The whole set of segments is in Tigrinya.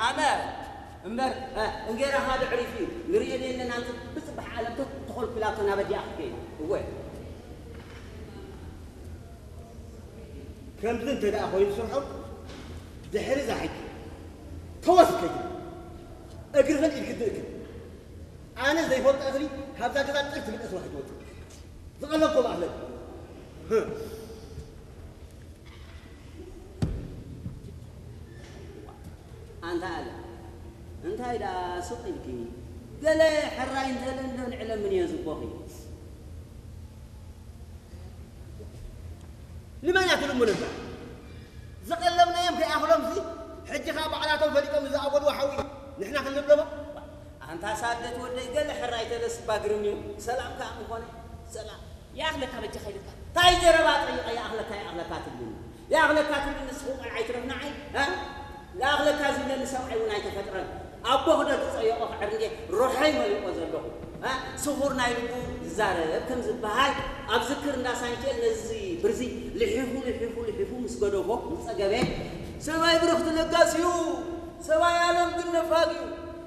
ኣነ እምበር፣ እ፣ እንጌራኻ ዶ ዕሪፉ እዩ? ንርእዮ ዶ የለን ኣንቲ ብጽባሕ ዓለም ተኾልኲላቶ ናብ ኣዲኣ ክትከይድ? እወ። ከምዚ እንተ ደኣ ኮይኑ ስርሖም፣ ድሕሪ እዛ ሕጂ ተወስ ከይዱ እግርኽን ኢድክን ትእክብ። ኣነ ዘይፈልጦ እኽሊ ካብዛ ገዛ ጥርት ኢልካ ስራሕ ትወጽእ። ዝቐለብኮ ባዕለይ። ኣንታ ኣለ፣ እንታይ ደኣ ሱቕ ኢልኪ? ገለ ሕራይ እንተለ እንዶ ንዕለምን እየ ዝቦኺ። ንመን እያ ትልምኖ እዛ? ዝቐለብናዮም ከይኣኽሎምሲ፣ ሕጂ ኸኣ ባዕላቶም ፈሊጦም ዝኣበልዎ ሓዊ ንሕና ክንልብለቦ? ኣንታ ሳደት ወደይ፣ ገለ ሕራይ ተለስ ባግርም እዩ። ሰላም ከኣ ምኾነ፣ ሰላም። ይኣኽለካ በጃኻ ኢልካ። እንታይ ዘረባ ጠይቐ ይኣኽለካ፣ ይኣኽለካ ትብልኒ? ይኣኽለካ ትብልኒ ንስኹ ቆልዓ ኣይትረፍ ንዓይ፣ እ? ይኣኽለካ ዝብለኒ ሰብኣይ እውን ኣይተፈጥረን። ኣቦ ክደግጸዮ ክዕር እንዴ ሮሐይ መሊቆ ዘለኹ፣ እ? ስኹር ናይ ልቡ ይዛረብ ከም ዝበሃል ኣብ ዝክር እንዳ ሳንኬል ነዚ ብርዚ ልሒፉ፣ ልሒፉ፣ ልሒፉ ምስ ገደፎ፣ ምስ ጸገበ፣ ሰብኣይ ብርኽቲ ለጋስ እዩ፣ ሰብኣይ ኣለም ግን ነፋግ እዩ፣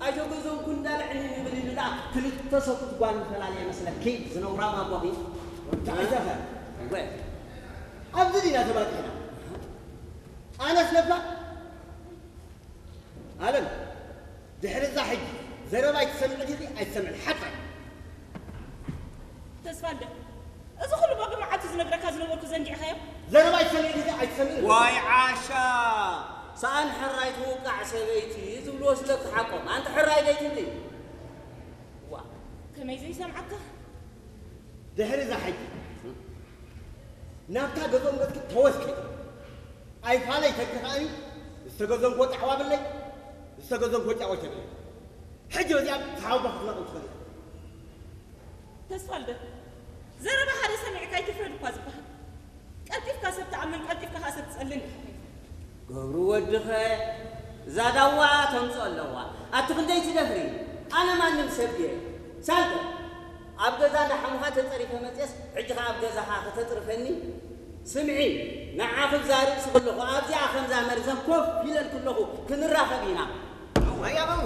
ኣይተገዘንኩ እንዳለ ዕንይንይ ይብል ኢሉ ደኣ ክልተ ሰብኡት ጓል ምፈላለየ መስለኪ ዝነውራም ኣቦኺ። እንታይ ዘኸ? እወ። ኣብዚ ዲና ተባጺሕና? ኣነስ ነፋግ? ኣለም፣ ድሕሪ እዛ ሕጂ ዘረባ ኣይትሰምዒ ዲኺ ኣይትሰምዕን? ሓጥራ። ተስፋልደ፣ እዚ ኩሉ በቢ መዓልቱ ዝነግረካ ዝነበርኩ ዘንጊዕካዮ? ዘረባ ኣይትሰምዒ ዲኺ ኣይትሰምዕን? ዋይ ዓሻ፣ ሰኣን ሕራይ ትውቃዕ ሰበይቲ ዝብልዎ ስለኪ ሓቆም። ኣንቲ ሕራይ ደይትብሊ? ዋ። ከመይ ዘይሰምዓካ? ድሕሪ እዛ ሕጂ ናብታ ገዝኦም ገጽኪ ተወስኪ። ኣይፋለይ ተኪ ከኣኒ ዝተገዘንኮ ጣዕዋ ብለይ፣ ዝተገዘንኮ ጫወት የብለይ። ሕጂ በዚኣ ሓውባ ክትነቕል ትኽእል ኢኻ። ተስፋልደ፣ ዘረባ ሓደ ሰሚዕካ ኣይትፍረድ እኳ ዝበሃል። ቀልጢፍካ ሰብ ትኣምን፣ ቀልጢፍካ ኸኣ ሰብ ትጸልን ኢኻ። ገብሩ ወድኸ፣ እዛ ዳዋ ተምጽኦ ኣለዋ። ኣቲ ክንደይ ትደፍሪ? ኣነ ማንም ሰብ ድየ? ሳልተ፣ ኣብ ገዛ እንዳሓሙኻ ተጸሪፈ መጽየስ፣ ሕጂ ኸኣ ኣብ ገዛኻ ከተጽርፈኒ? ስምዒ፣ ንዓኺ ብዛ ርእሲ ከለኹ፣ ኣብዚኣ ከምዛ መርዘን ኮፍ ኢለልኪ ኣለኹ፣ ክንራኸብ ኢና። እዋይ ኣበው፣